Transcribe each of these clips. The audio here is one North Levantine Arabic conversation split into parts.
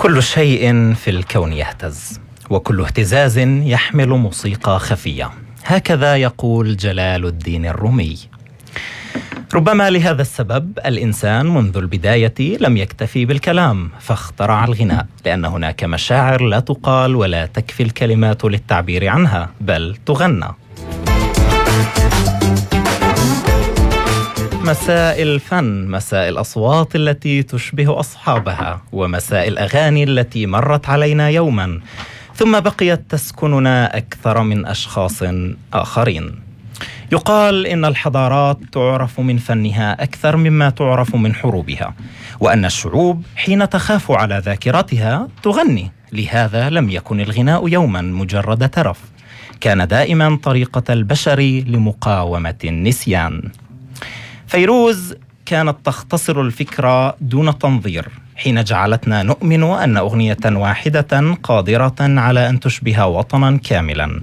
كل شيء في الكون يهتز، وكل اهتزاز يحمل موسيقى خفية، هكذا يقول جلال الدين الرومي. ربما لهذا السبب الإنسان منذ البداية لم يكتفي بالكلام فاخترع الغناء، لأن هناك مشاعر لا تقال ولا تكفي الكلمات للتعبير عنها، بل تغنى. مساء الفن، مساء الأصوات التي تشبه أصحابها، ومساء الأغاني التي مرت علينا يوما ثم بقيت تسكننا أكثر من أشخاص آخرين. يقال إن الحضارات تعرف من فنها أكثر مما تعرف من حروبها، وأن الشعوب حين تخاف على ذاكرتها تغني. لهذا لم يكن الغناء يوما مجرد ترف، كان دائما طريقة البشر لمقاومة النسيان. فيروز كانت تختصر الفكرة دون تنظير حين جعلتنا نؤمن أن أغنية واحدة قادرة على أن تشبه وطنا كاملا.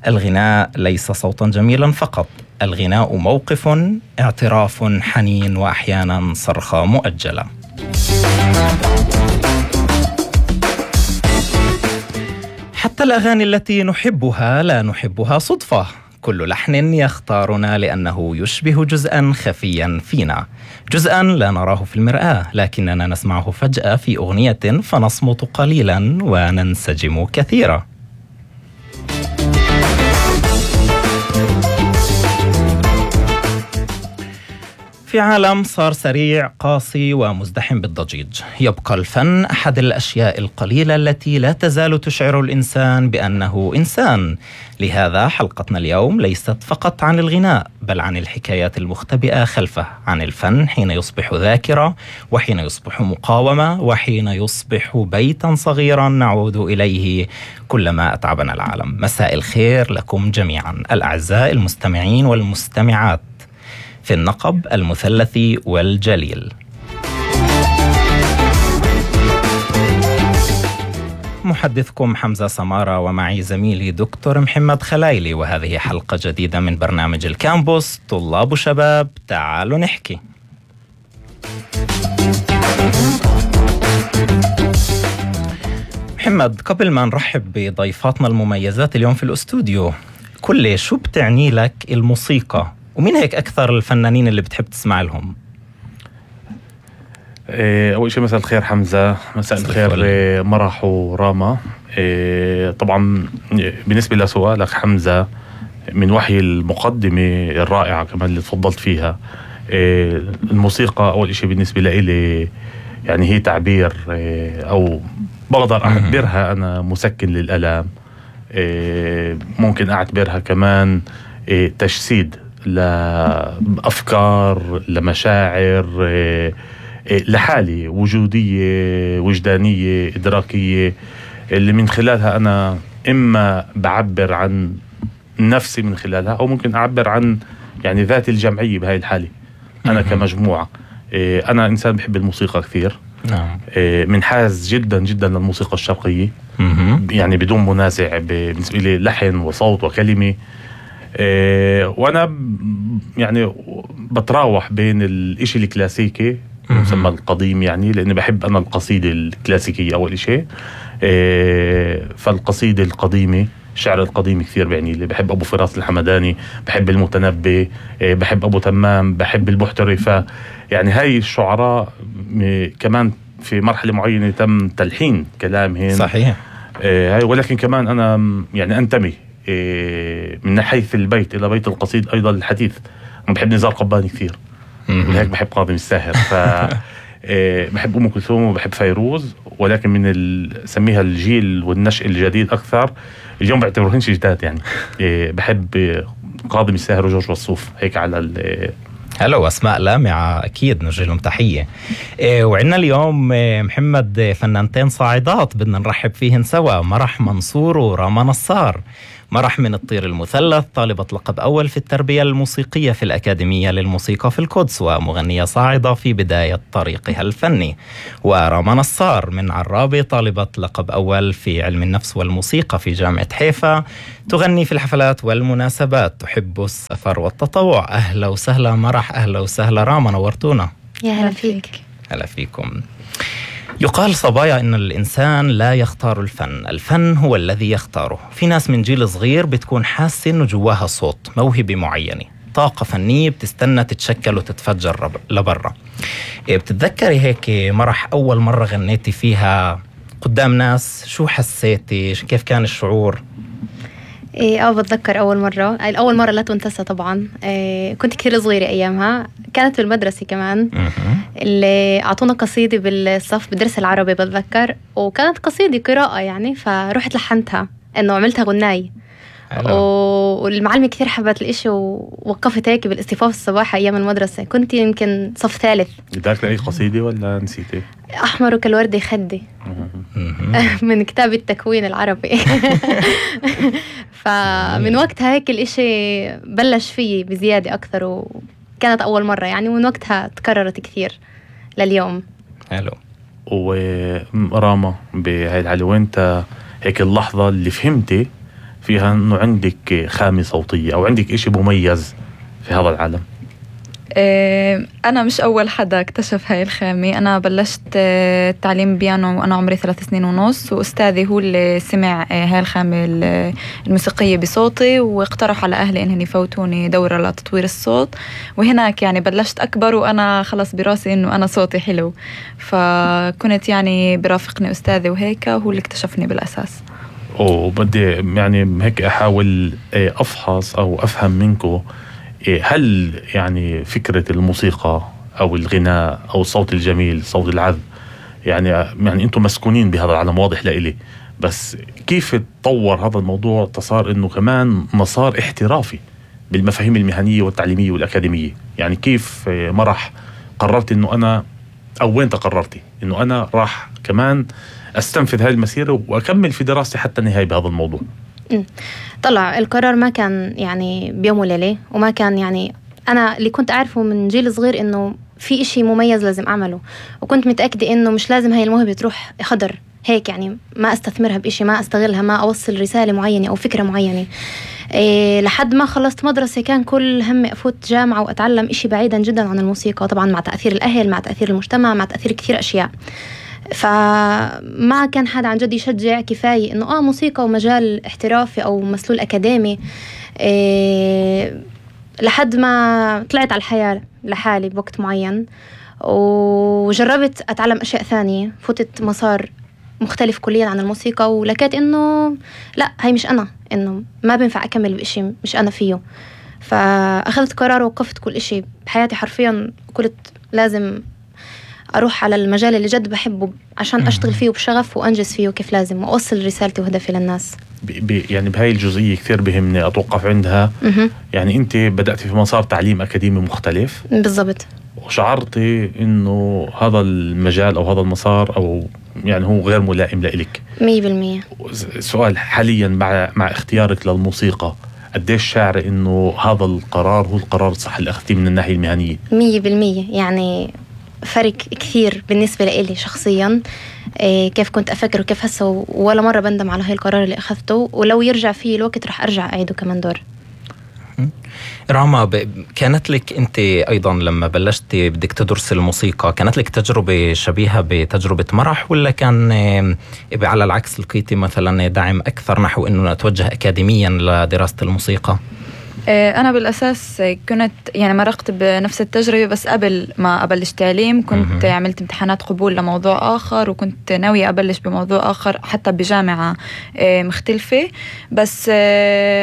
الغناء ليس صوتا جميلا فقط، الغناء موقف، اعتراف حنين، وأحيانا صرخة مؤجلة. حتى الأغاني التي نحبها لا نحبها صدفة، كل لحن يختارنا لأنه يشبه جزءا خفيا فينا، جزءا لا نراه في المرآة لكننا نسمعه فجأة في أغنية فنصمت قليلا وننسجم كثيرا. في عالم صار سريع قاسي ومزدحم بالضجيج، يبقى الفن أحد الأشياء القليلة التي لا تزال تشعر الإنسان بأنه إنسان. لهذا حلقتنا اليوم ليست فقط عن الغناء، بل عن الحكايات المختبئة خلفه، عن الفن حين يصبح ذاكرة، وحين يصبح مقاومة، وحين يصبح بيتا صغيرا نعود إليه كلما أتعبنا العالم. مساء الخير لكم جميعا الأعزاء المستمعين والمستمعات في النقب المثلثي والجليل. محدثكم حمزة سمارة، ومعي زميلي دكتور محمد خلايلي، وهذه حلقة جديدة من برنامج الكامبوس، طلاب وشباب تعالوا نحكي. محمد، قبل ما نرحب بضيفاتنا المميزات اليوم في الأستوديو، كل شو بتعني لك الموسيقى؟ ومين هيك أكثر الفنانين اللي بتحب تسمع لهم؟ أول شيء مساء الخير حمزة، مساء الخير مرح وراما. طبعا بالنسبة لسؤالك حمزة، من وحي المقدمة الرائعة كمان اللي تفضلت فيها، الموسيقى أول شيء بالنسبة لي يعني هي تعبير، أو بقدر أعتبرها أنا مسكن للألم، ممكن أعتبرها كمان تجسيد لأفكار، لمشاعر، لحالي وجودية وجدانية إدراكية، اللي من خلالها أنا إما بعبر عن نفسي من خلالها، أو ممكن أعبر عن يعني ذاتي الجمعية بهاي الحالة أنا كمجموعة. أنا إنسان بحب الموسيقى كثير، منحاز جدا جدا للموسيقى الشرقية، يعني بدون منازع بالنسبة لي لحن وصوت وكلمة. وانا يعني بتراوح بين الاشي الكلاسيكي يسمى القديم، يعني لاني بحب انا القصيدة الكلاسيكية اول شيء، فالقصيدة القديمة، الشعر القديم كثير بعني لي. بحب ابو فراس الحمداني، بحب المتنبي، بحب ابو تمام، بحب البحتري. يعني هاي الشعراء كمان في مرحلة معينة تم تلحين كلامهم صحيح، هاي. ولكن كمان انا يعني انتمي من حيث البيت إلى بيت القصيد أيضا الحديث. أنا بحب نزار قباني كثير، ولهيك بحب كاظم الساهر، بحب أم كلثوم وبحب فيروز، ولكن من سميها الجيل والنشء الجديد أكثر. اليوم بعتبرهنش جداد يعني. بحب كاظم الساهر وجورج وسوف، هيك على هلو، أسماء لامعة أكيد نوجه لهم تحية. وعندنا اليوم محمد فنانتين صاعدات بدنا نرحب فيهن سوا، مرح منصور وراما نصار. مرح من الطير المثلث، طالبة لقب أول في التربية الموسيقية في الأكاديمية للموسيقى في القدس، ومغنية صاعدة في بداية طريقها الفني. وراما نصار من عرابة، طالبة لقب أول في علم النفس والموسيقى في جامعة حيفا، تغني في الحفلات والمناسبات، تحب السفر والتطوع. أهلا وسهلا مرح، أهلا وسهلا راما، نورتونا. يا هلا فيك. هلا فيكم. يقال صبايا إن الإنسان لا يختار الفن، الفن هو الذي يختاره. في ناس من جيل صغير بتكون حاسة إنه جواها صوت، موهبة معينة، طاقة فنية بتستنى تتشكل وتتفجر لبرا. بتتذكري هيك مرح أول مرة غنيتي فيها قدام ناس؟ شو حسيتي؟ كيف كان الشعور؟ بتذكر أول مرة لا تنتسى طبعا. كنت كثير صغيرة أيامها، كانت في المدرسة كمان. اللي أعطونا قصيدة بالصف بدرس العربي بتذكر، وكانت قصيدة قراءة يعني، فرحت لحنتها إنه عملتها غناي. والمعلمة كثير حبت الإشي ووقفت هيك بالاصطفاف الصباحي أيام المدرسة. كنت يمكن صف ثالث. بدك أي قصيدة ولا نسيتي؟ أحمر كالورد خدي من كتاب التكوين العربي. فمن وقتها هيك الإشي بلش فيه بزيادة أكثر، وكانت أول مرة يعني، ومن وقتها تكررت كثير لليوم. حلو. وراما بهاي العلوة انت هيك اللحظة اللي فهمتي فيها انه عندك خامة صوتية او عندك اشي مميز في هذا العالم؟ أنا مش أول حدا اكتشف هاي الخامة. أنا بلشت تعليم بيانو وأنا عمري 3 سنين ونص، وأستاذي هو اللي سمع هاي الخامة الموسيقية بصوتي، واقترح على أهلي إنهم يفوتوني دورة لتطوير الصوت. وهناك يعني بلشت أكبر وأنا خلص براسي إنه أنا صوتي حلو، فكنت يعني برافقني أستاذي وهيك هو اللي اكتشفني بالأساس. وبدي يعني هيك أحاول أفحص أو أفهم منكم، هل يعني فكرة الموسيقى أو الغناء أو الصوت الجميل، صوت العذب، يعني أنتم مسكونين بهذا العالم واضح لإلي، بس كيف تطور هذا الموضوع تصار إنه كمان مسار احترافي بالمفاهيم المهنية والتعليمية والأكاديمية؟ يعني كيف مرح قررت إنه أنا، أو وين تقررتي إنه أنا راح كمان أستنفذ هذه المسيرة وأكمل في دراستي حتى النهاية بهذا الموضوع؟ طلع القرار ما كان يعني بيوم وليلة، وما كان يعني أنا اللي كنت أعرفه من جيل صغير إنه في إشي مميز لازم أعمله، وكنت متأكدة إنه مش لازم هاي الموهبة تروح خضر هيك، يعني ما أستثمرها بإشي، ما أستغلها، ما أوصل رسالة معينة أو فكرة معينة. لحد ما خلصت مدرسة كان كل همي أفوت جامعة وأتعلم إشي بعيدا جدا عن الموسيقى، طبعا مع تأثير الأهل، مع تأثير المجتمع، مع تأثير كثير أشياء. فما كان حدا عن جد يشجع كفاية إنه موسيقى ومجال احترافي أو مسلول أكاديمي. لحد ما طلعت على الحياة لحالي بوقت معين، وجربت أتعلم أشياء ثانية، فتت مسار مختلف كليا عن الموسيقى، ولقيت إنه لا، هاي مش أنا، إنه ما بينفع أكمل بإشي مش أنا فيه. فأخذت قرار ووقفت كل إشي بحياتي حرفيا، قلت لازم أروح على المجال اللي جد بحبه عشان أشتغل فيه بشغف وأنجز فيه كيف لازم، وأوصل رسالتي وهدفي للناس. يعني بهاي الجزئية كثير بهمني أتوقف عندها. يعني أنت بدأتي في مسار تعليم أكاديمي مختلف بالضبط، وشعرتي إنه هذا المجال أو هذا المسار أو يعني هو غير ملائم لإلك 100%. سؤال، حاليا مع اختيارك للموسيقى قديش شاعرة إنه هذا القرار هو القرار الصح اللي أخذتيه من الناحية المهنية؟ 100%. يعني فرق كثير بالنسبة لي شخصيا. كيف كنت أفكر وكيف هسه، ولا مرة بندم على هاي القرار اللي أخذته، ولو يرجع فيه الوقت رح أرجع أعيده كمان دور. راما، كانت لك أنت أيضا لما بلشتي بدك تدرس الموسيقى، كانت لك تجربة شبيهة بتجربة مرح، ولا كان على العكس لقيتي مثلا دعم أكثر نحو أنه أتوجه أكاديميا لدراسة الموسيقى؟ أنا بالأساس كنت يعني مرقت بنفس التجربة، بس قبل ما أبلش تعليم كنت عملت امتحانات قبول لموضوع آخر، وكنت ناوية أبلش بموضوع آخر حتى بجامعة مختلفة. بس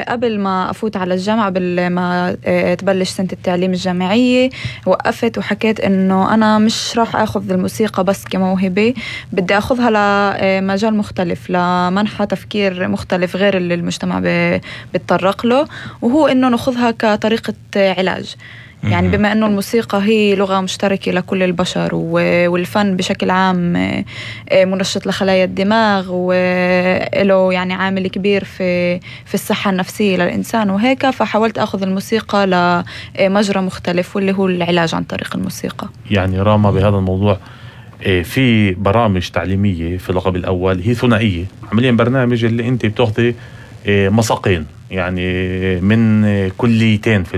قبل ما أفوت على الجامعة، قبل ما تبلش سنة التعليم الجامعية، وقفت وحكيت إنه أنا مش راح أخذ الموسيقى بس كموهبة، بدي أخذها لمجال مختلف، لمنحى تفكير مختلف غير اللي المجتمع بيتطرق له، وهو إنه نأخذها كطريقة علاج. يعني بما أنه الموسيقى هي لغة مشتركة لكل البشر، والفن بشكل عام منشط لخلايا الدماغ، وله يعني عامل كبير في الصحة النفسية للإنسان وهيك، فحاولت أخذ الموسيقى لمجرى مختلف واللي هو العلاج عن طريق الموسيقى. يعني راما بهذا الموضوع في برامج تعليمية في اللقب الأول هي ثنائية، عمليا برنامج اللي أنت بتأخذي مساقين يعني من كليتين في